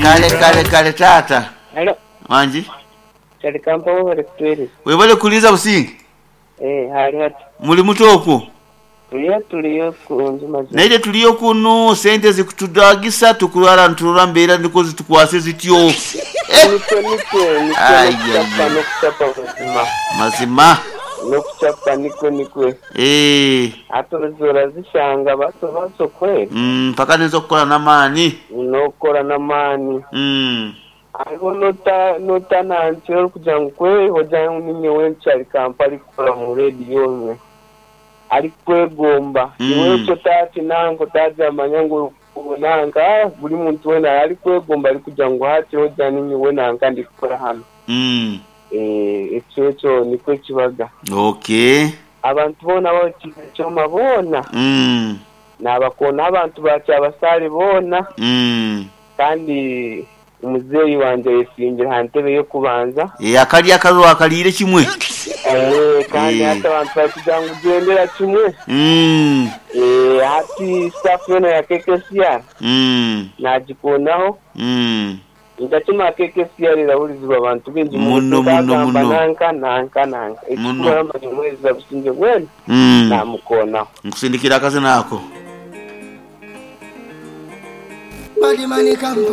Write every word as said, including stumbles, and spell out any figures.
Kale kale kale taata. Halo, Wangi kyali kampawo bali kutwereza. webale kuliza Businge. Eh, hali hati. Muli muto okwo. Tuliyo tuliyo kunju mazima. Naye tuliyo kuno sente zikutudagisa tukulwala nturora mbeera niko zitukwase zityo. Nikwe nikwe nikwe Ai, nokuchapa ai, ai. nokuchapa mazima. Mazima. Nokuchapa nikwe nikwe. Eh, Ate ozora zishanga baso baso kweli. mm, mpaka nizo kukola n'amaani. Nokora n'amaani. Mm. Hariho nota nota nansi orikugira ngu kwe ogira ngu ninyowe nkyali kampala kukora mu rediyo omwe. Arikwegomba. Mm. Iwe ekyo takinanka otagyamanya ngu nanka ah, buri muntu weena arikwegomba arikugira ngu hati ogira ninyowe nanka ndikukora hano. Mm. Eh, ekyo ekyo nikwo kibaga. Okay. Abantu boona bakiire kyoma boona Mm. nabakoona abantu bakyabasaale boona Mm. kandi omuzeeyi wangye ayesimbire aha ntebe y'okubanza. Eh, akalya akarwa akaliire kimwe. Eh, kandi Eh. hati abantu barikugira ngu gyendera kimwe. Mm. Eh, hati staff yoona ya K K C R Mm. nagikoonaho. Mm. Ndakima K K C R erahurizibwa abantu baingi Muno, muno, nkagamba muno. nanka nanka nanka Muno. ekikuru amanya omwezi Businge bwena Mm. namukoonaho. Nkusindikira akazina ako. Badimani kampo.